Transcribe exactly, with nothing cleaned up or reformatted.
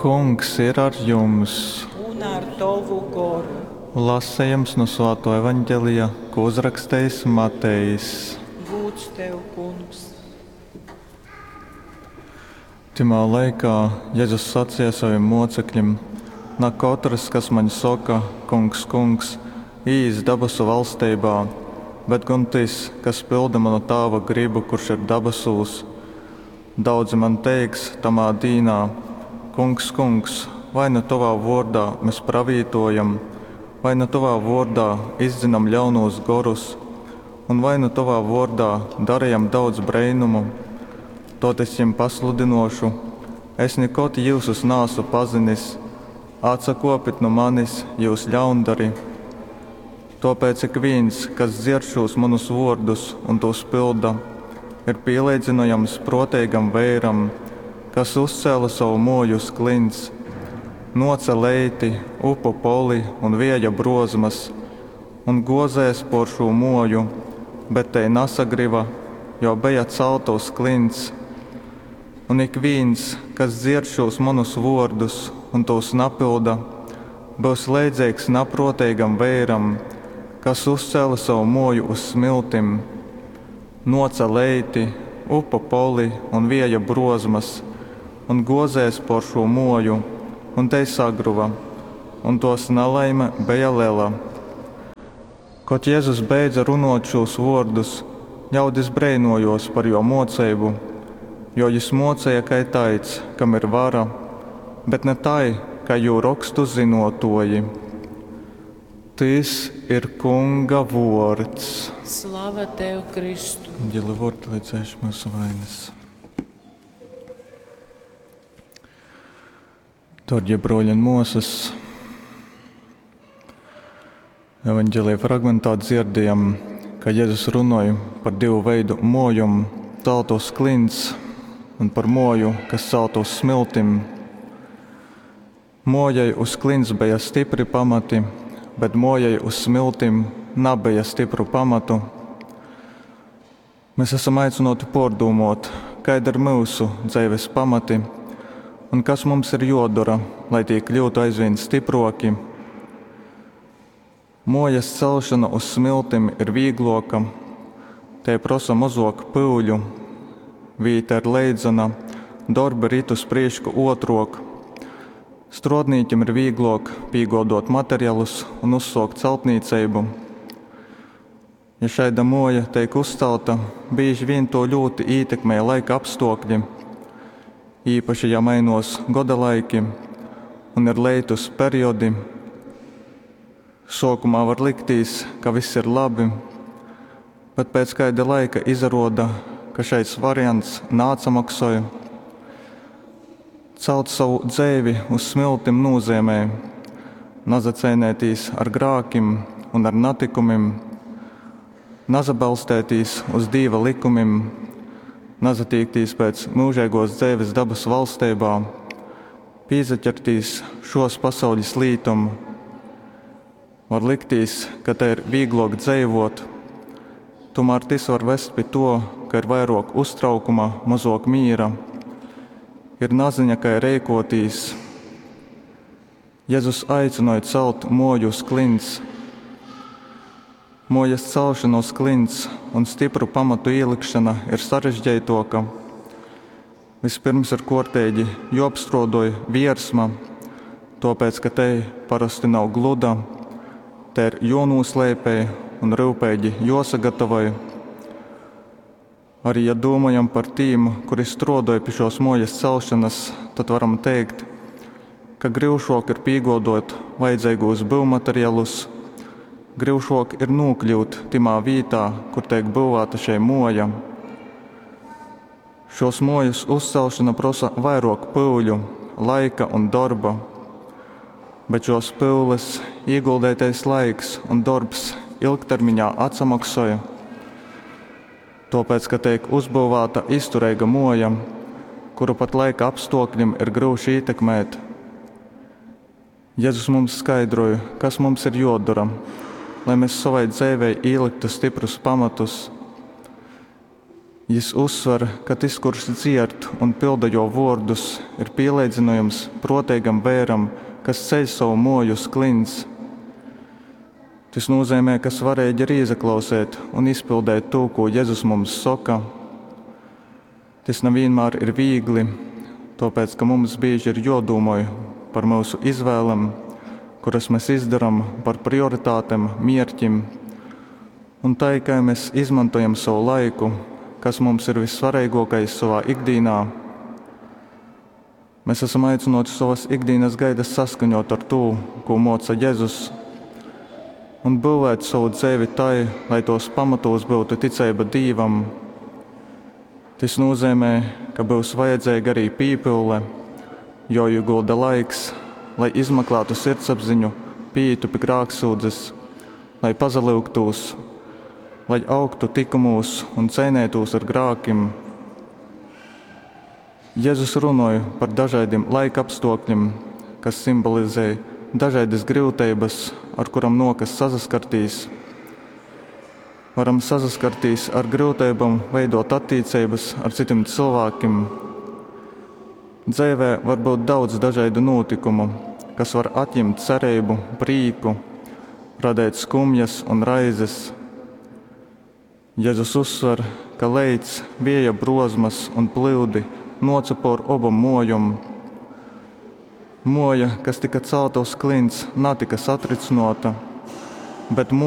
Kungs ir ar jums! Un ar tovu goru. Lasejums no Svāto Evaņģelija, ko uzrakstījis Matejs. Gūds tev, Kungs! Tymā laikā Jezus saceja sovim mōcekļim: Na kotrs, kas maņ soka, Kungs, Kungs, īīs dabasu valsteibā, bet gon tys, kas pylda muna Tāva grybu, kurš ir dabasūs. Daudzi maņ teiks tamā dīnā: Kungs, Kungs, vai na tovā vōrdā mes pravītōjam, vai na tovā vōrdā izdzynom ļaunūs gorus, un vai nu tovā vōrdā darejam daudz breinumu? Tod es jim pasludynōšu: Es nikod jyusus naasu pazinis, atsakōpit nu manis, jyus ļaundari! Tōpēc ikvīns, kas dzierd šūs munus vōrdus un tūs pylda, ir pīleidzynojams prōteigam veiram, kas uzcēle sovu mōju uz klints. Nōce leiti, upu poli un vēja brōzmas un gōzēs pōr šū mōju, bet tei nasagryva, jo beja calta uz klints. Un ikvīns, kas dzierd šūs munus vōrdus un tūs napylda, byus leidzeigs naprōteigam veiram, kas uzcēle sovu mōju uz smiltim. Nōce leiti, upu poli un vēja brōzmas un gōzēs pōr šū mōju, un tei sagruva, un tōs nalaime beja lela. Kod Jezus beidze runōt šūs vōrdus, ļaudis breinōjōs par jō mōceibu, jo jys mōceja kai taids, kam ir vara, bet na tai, kai jū rokstu zynōtōji. Tys ir Kunga vōrds. Slava tev, Kristu! Evaņģelia vōrdi, lai dzēš myusu vainas. Dārgie broļi un mosas, evaņģelija fragmentā dzirdējam, ka Jēzus runāja par divu veidu mojom, celtu uz klints un par moju, kas celtu uz smiltim. Mojai uz klints bija stipri pamati, bet mojai uz smiltim nabeja stipru pamatu. Mēs esam aicināti pārdomāt, kāda ir mūsu dzīves pamati un kas mums ir jodara, lai tie kļūtu aizvien stiproki. Mojas celšana uz smiltim ir vīgloka, te prasa mazok pūļu, vīta ir leidzana, darbi rit uz priešku otrok. Strodnīķim ir vīglok pīgodot materialus un uzsokt celtnīcību. Ja šaida moja teik uzcelta, bieži vien to ļoti ietekmē laika apstākļi. Īpaši, ja mainos godalaiki un ir leitus periodi. Sākumā var liktīs, ka viss ir labi, bet pēc kāda laika izaroda, ka šais variants nācamaksoja. Celt savu dzeivi uz smiltim nozīmē nazacēnētīs ar grākim un ar natikumim, nazabalstētīs uz Dīva likumim, nazatīktīs pēc mūžīgos dzeives dabas valstībā, pīzaķertīs šos pasaules lītum. Var liktīs, ka te ir vieglāk dzīvot, tomēr tas var vest pie to, ka ir vairāk uztraukuma, mazāk mīra, ir naziņa, kā rēkotīs. Jēzus aicināja celt moju uz klints. Mojas celšana uz klints un stipru pamatu ielikšana ir sarežģītāka. Vispirms ir kārtīgi jāapstrādoj viersma, tāpēc, ka te parasti nav gluda, te ir jānoslēpē un rūpīgi jāsagatavoj. Arī, ja domājam par tīm, kuri strādāja pie šos mojas celšanas, tad varam teikt, ka grūšāk ir pīgodot vajadzīgos būvmateriālus, grūšāk ir nokļūt timā vītā, kur tiek būvēta šī moja. Šos mojas uzcelšana prasa vairāk pūļu, laika un darba, bet šos pūles ieguldītais laiks un darbs ilgtermiņā atsamaksoja. Tāpēc, ka tiek uzbūvēta izturīga moja, kuru pat laika apstākļiem ir grūti ietekmēt. Jēzus mums skaidroja, kas mums ir jodara, lai mēs savai dzīvei ieliktu stiprus pamatus. Jys uzsver, ka tys, kurš dzierd un pylda Jō vōrdus, ir pīleidzynojams prōteigam veiram, kas ceļ sovu mōju uz kliņts. Tys nūzeimej, ka svareigi ir īsaklauseit un izpildeit tū, kū Jezus mums soka. Tys na vīnmār ir vīgli, tōpēc ka mums bīži ir jōdūmoj par myusu izvēlem, kuras mes izdoram, par prioritātem, mierkim. Un tai, kai mes izmantojam sovu laiku, kas mums ir vissvareigōkais sovā ikdīnā. Mes asam aicynōti sovas ikdīnas gaitas saskaņōt ar tū, kū mōca Jezus, un byuvēt sovu dzeivi tai, lai tōs pamatūs byutu ticeiba Dīvam. Tys nūzeimej, ka byus vajadzeiga arī pīpyule, jōīgulda laiks, lai izmaklātu sirdsapziņu, pīītu pi grāksūdzes, lai pasalyugtūs, lai augtu tykumūs un ceineitūs ar grākim. Jezus runoj par dažaidim laikapstōkļim, kas simbolizej dažaidas gryuteibas, ar kurom nōkas sasaskartīs. Varam sasaskartīs ar gryuteibom veidōt attīceibas ar cytim cylvākim. Dzeivē var byut daudz dažaidu nūtykumu, kas var atjimt cereibu, prīku, radeit skumjas un raizes. Jezus uzsver, ka leits, vieja brozmas un plyudi nōca pōr obom mōjom. Mōja, kas tyka calta uz kliņts, natyka satrycynōta, bet mōja,